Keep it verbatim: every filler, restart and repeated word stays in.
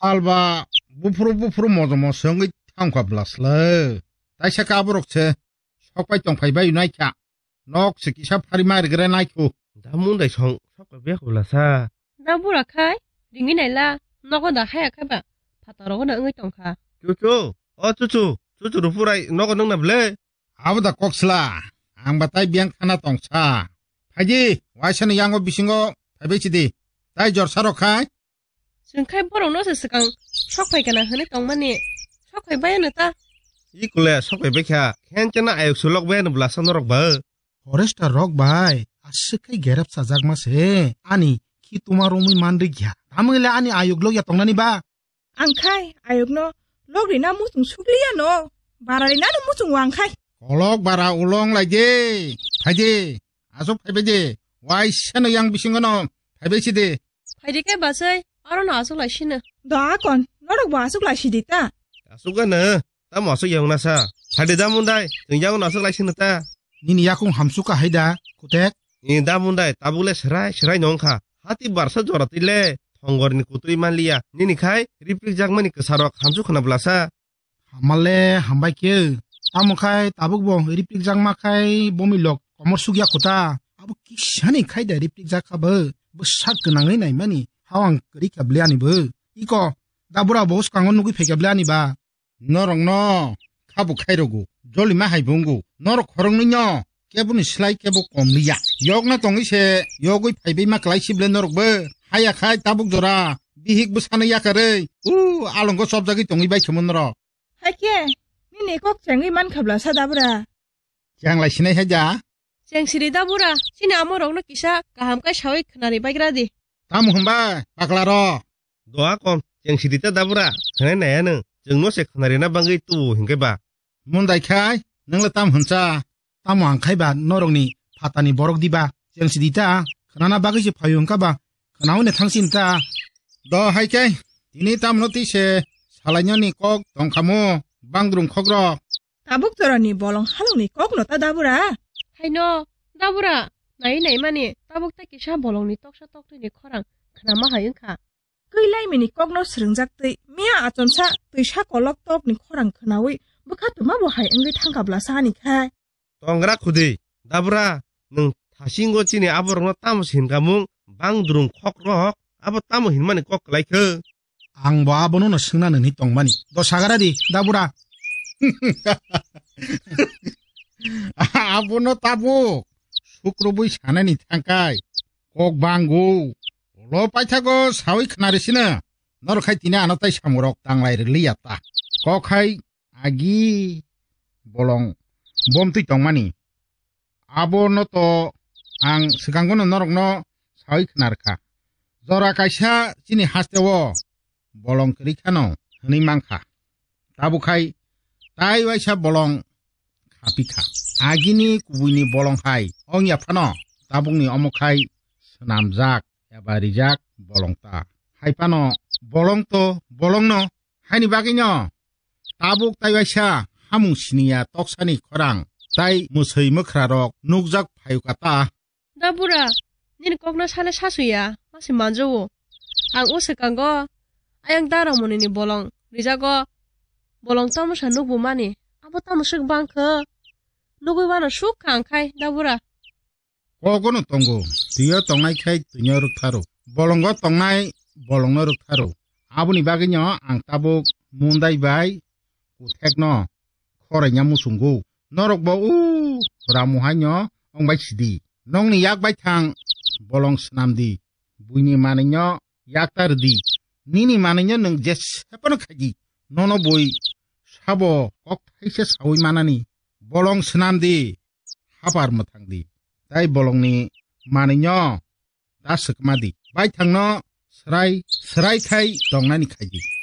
Alba buphuru buphuru mojomo se wngwi thangkha bwlasle. Taisa khe aborok se sok pai tong phai bai nai kha. Nok se kisa phari ma rigre nai khu. Da mundai song sok pai bia khu bwlasa. Da bura khai ringwi naila nogo da haya khai ba phataro gona wngwi tong kha. Chuchu, o chuchu, chuchu rupurai nogo nung na ble. Abo da kok sla, ang ba tai biyang khana tong sa. Phaidi, waisa ni yango bisingo phaibai sidi. Tai jor saro khai. Chwng khai borok no se swkang sok phai kana hwnwi tongmani. Sok phai bai ano ta. I kule sok phai bai kha. Khen chana ayok sulok bai ano bwlasa norok ba. Forester rok bai, aswk khai gerep sajak ma se. Ani khi tuma romwi man rikya. Tamwile ani ayok lok ya tongnani ba. Ang khai ayokno lok rina muchung sukliya no. Bara rina no muchung wang khai. Kolok bara ulong lai de. Phaidi. Asok phaibai de. Waisa no yang bisingo no. Phaibai si de. Phaidi kai basai. Aro no asok lai sino. Da kon. Norok bo asok lai si di ta. Asok gana. Tamo asok yang nasa. Phaidi da mundai. Tong yang no asok lai sino ta. Nini yakung hamsuk ka hai da. Kutek. Ni da mundai. Tabuk le serai serai nong kha. Hati barsa jora twi le. Thongor ni kutui manliya. Nini khai. Riprik jakmani kwsarok hamsuk khana bwlasa. Hamale hambai khe. Tamo khai tabuk bo riprik jakma khai bomi lok komor sukya kota. Abo kisani khai da riprik jak kha bo. Bo sak gwnangwi naimani. Hawang kwrwi kha bliani bo. Iko. Da bura bo swkango nugwi phaikha bliani ba. Norokno khabu khairogo. Jolima hai bo wngo. Norok khoroknwino keboni slai kebo kom liya. Yokna tongwi se yogwi phaibai ma kwlai sible norok bo. Haya khai tabuk jora. Bihik bwsano yakarwi. U alongo chopjagwi tongwi bai khe mo norok. Hakhe, nini kok chengwi man khabla sa da bura. Cheng lai sinai hai da? Cheng siri da bura, chini amo rokno kisa kaham kai sawi khnari baigra di. Tamo hwnba, pakla ro? Doa kon, cheng siri ta da bura, khnai naya nung, chwngno se khnari na bangwi tubu hinkhe ba. Mundai khai, nung le tam hwnsa? Tamo ang khai ba norokni phatani borok diba? Cheng sidi ta, khnana bagwi se phaio wngkha ba? Khnaui ne thangsin ta. Do hai khe, tini tamno twi se salainani kok tongkhamu, bangdrung khokrok. Tabuk jorani bolong halongni kokno ta dabura? Haino, dabura, nai nai mani, tabuk ta kisa bolongni toksa toktwini khorang khnama hai wngkha. Kwi laimini kokno srwngjak twi, miya achomsa twisa kolok tokni khorang khnaui bwkha twma bo hai wngwi thangkha bwlasa ani khai. Tongra khudi, dabra, nwng thasingo chini aborokno tamo se hinkamung, bang drung khok rok, abo tamo hinmani kok kwlai khe? Ang bo abono no swngna nini tongmani. Do sagara di, dabura. Abono tabuk, sukrubui sanani thangkai, kok bangu, ulo paithago sawi khnari sino, norok khai tini ano tai samurok tanglai rwliya ta. Kok hai agi bolong bomtwi tongmani. Abono to ang swkangono norokno sawi khnarkha. Jora kaisa chini hasteo bolong kwrwi khano hwnwi mankha. Tabuk khai tai waisa bolong khapikha. Agini kubuini bolong hai ongya phano tabukni omo khai swnamjak eba rijak bolong ta. Hai phano bolong to bolongno. Haini bagwino tabuk tai waisa hamung siniya toksani khorang tai mwswi mwkhrarok nukjak phaio kata. Da bura, nini kokno sale sasuya, masi manjawo. Ang o swkango, ayang dara monini bolong rijago, bolong tamosa nukbo mani, abo tamo swk bangkha? Nugwi wano suk kha ang khai, da bura. Kogono tongo, twiyo tongnai khai twino rwktharw. Bolongo tongnai bolongno rwktharw. Aboni bagwino ang tabuk mundai bai kuthekno khoraina muchungo. Norokbo u ramu haino wngbai sidi. Nokni yak baithang bolong swnamdi. Buini manwino yakta rwdi. Nini manwino nwng jesephano khaidi. Nono bui sabo kok thaisa sawi manani. Bolong swnamdi. Hapar mwthangdi. Tai bolongni manwino da swkma di. Baithangno swrai, swrai khai tongnani khaidi.